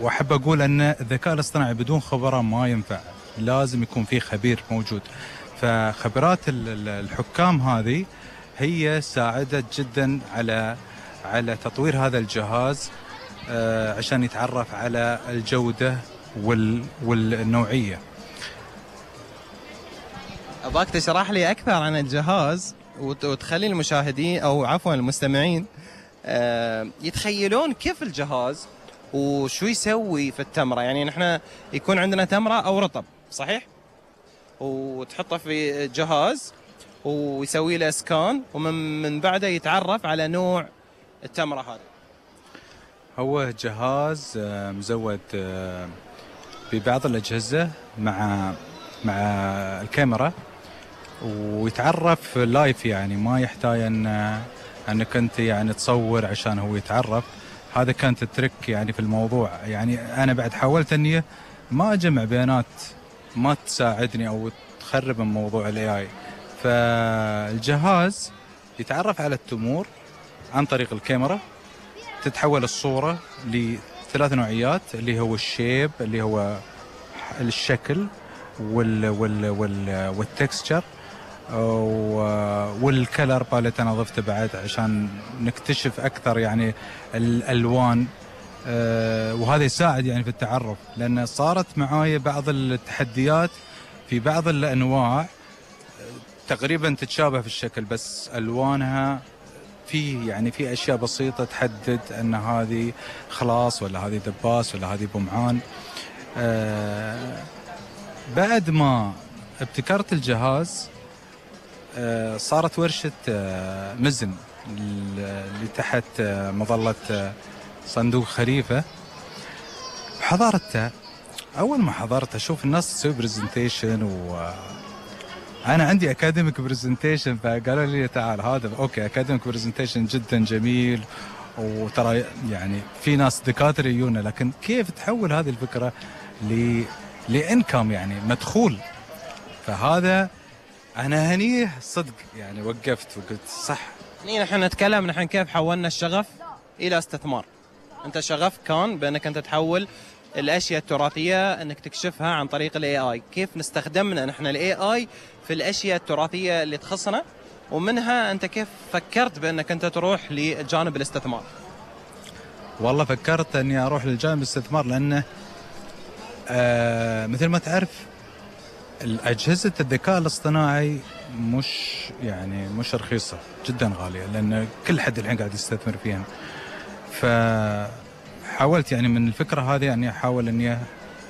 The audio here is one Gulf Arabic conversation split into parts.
واحب اقول ان الذكاء الاصطناعي بدون خبراء ما ينفع، لازم يكون في خبير موجود. فخبرات الحكام هذه هي ساعدت جدا على تطوير هذا الجهاز عشان يتعرف على الجودة والنوعية. أباك تشرح لي أكثر عن الجهاز وتخلي المشاهدين أو عفوا المستمعين يتخيلون كيف الجهاز وشو يسوي في التمرة. يعني نحن يكون عندنا تمرة أو رطب صحيح، وتحطه في جهاز ويسوي له سكان، ومن بعده يتعرف على نوع التمرة هذه. هو جهاز مزود ببعض الأجهزة مع الكاميرا، ويتعرف لايف، يعني ما يحتاج انك انت يعني تصور عشان هو يتعرف. هذا كانت الترك يعني في الموضوع. يعني انا بعد حاولت اني ما اجمع بيانات ما تساعدني او تخرب من موضوع الاي اي. فالجهاز يتعرف على التمور عن طريق الكاميرا، تتحول الصورة لثلاث نوعيات اللي هو الشيب اللي هو الشكل والتكستشر والكلر باليت. انا ضفته بعد عشان نكتشف اكثر يعني الالوان، وهذا يساعد يعني في التعرف، لان صارت معايا بعض التحديات في بعض الانواع تقريبا تتشابه في الشكل بس الوانها في اشياء بسيطه تحدد ان هذه خلاص ولا هذه دباس ولا هذه بمعان. بعد ما ابتكرت الجهاز صارت ورشة مزن اللي تحت مظلة صندوق خليفة. حضرتها، أول ما حضرت أشوف الناس تسوي برزنتيشن، وأنا عندي أكاديميك برزنتيشن، فقالوا لي تعال هذا أوكي أكاديميك برزنتيشن جدا جميل، وترى يعني في ناس دكاترة يجونا، لكن كيف تحول هذه الفكرة لإنكم يعني مدخول؟ فهذا أنا هنيه صدق يعني وقفت وقلت صح. نحن نتكلم نحن كيف حولنا الشغف إلى استثمار. أنت شغف كان بأنك أنت تحول الأشياء التراثية أنك تكشفها عن طريق الاي اي. كيف نستخدمنا نحن الاي اي في الأشياء التراثية اللي تخصنا، ومنها أنت كيف فكرت بأنك أنت تروح لجانب الاستثمار؟ والله فكرت أني أروح لجانب الاستثمار لأنه مثل ما تعرف الأجهزة الذكاء الاصطناعي مش رخيصة، جدا غالية، لأن كل حد الحين قاعد يستثمر فيها. فحاولت يعني من الفكرة هذه أني أحاول أني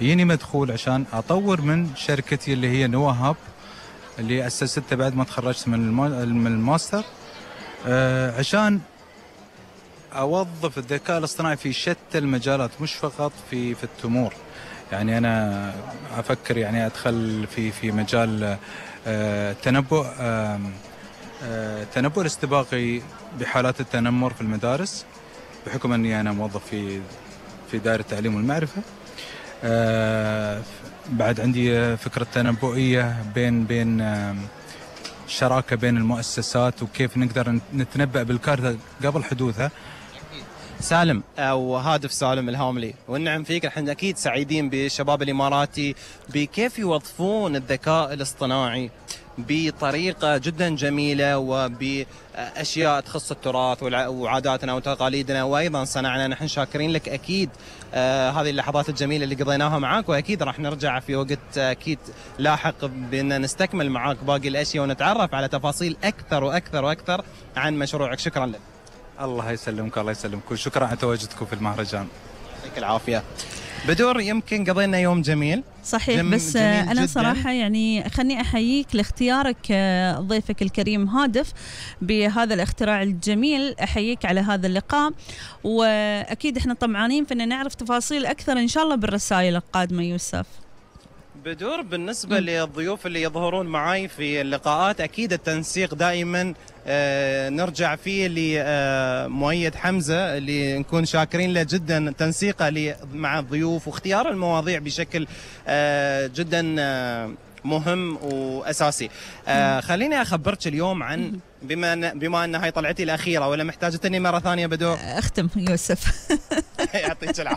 يجيني مدخول عشان أطور من شركتي اللي هي نوا هاب، اللي أسستها بعد ما تخرجت من الماستر، عشان أوظف الذكاء الاصطناعي في شتى المجالات، مش فقط في التمور. يعني أنا أفكر يعني أدخل في مجال التنبؤ الاستباقي بحالات التنمر في المدارس، بحكم أني أنا موظف في دائرة التعليم والمعرفة. بعد عندي فكرة تنبؤية بين شراكة بين المؤسسات، وكيف نقدر نتنبأ بالكارثة قبل حدوثها. سالم أو هادف سالم الهاملي، والنعم فيك. احنا أكيد سعيدين بالشباب الإماراتي بكيف يوظفون الذكاء الاصطناعي بطريقة جدا جميلة وبأشياء تخص التراث وعاداتنا وتقاليدنا وأيضا صنعنا. نحن شاكرين لك أكيد هذه اللحظات الجميلة اللي قضيناها معاك، وأكيد راح نرجع في وقت أكيد لاحق بأن نستكمل معاك باقي الأشياء ونتعرف على تفاصيل أكثر وأكثر وأكثر عن مشروعك. شكرا لك. الله يسلمك، الله يسلمك، شكرا على تواجدكم في المهرجان. يعطيك العافية. بدور يمكن قضينا يوم جميل صحيح، بس أنا جداً. صراحة يعني خلني أحييك لاختيارك ضيفك الكريم هادف بهذا الاختراع الجميل. أحييك على هذا اللقاء، وأكيد إحنا طمعانين فإن نعرف تفاصيل أكثر إن شاء الله بالرسائل القادمة. يوسف بدور، بالنسبة للضيوف اللي يظهرون معي في اللقاءات، أكيد التنسيق دائما نرجع فيه لمؤيد حمزة اللي نكون شاكرين له جدا، تنسيقه مع الضيوف واختيار المواضيع بشكل جدا مهم وأساسي. خليني أخبرك اليوم عن بما أن هاي طلعتي الأخيرة، ولا محتاجتني مرة ثانية بدور؟ أختم يوسف. يعطيك العافية.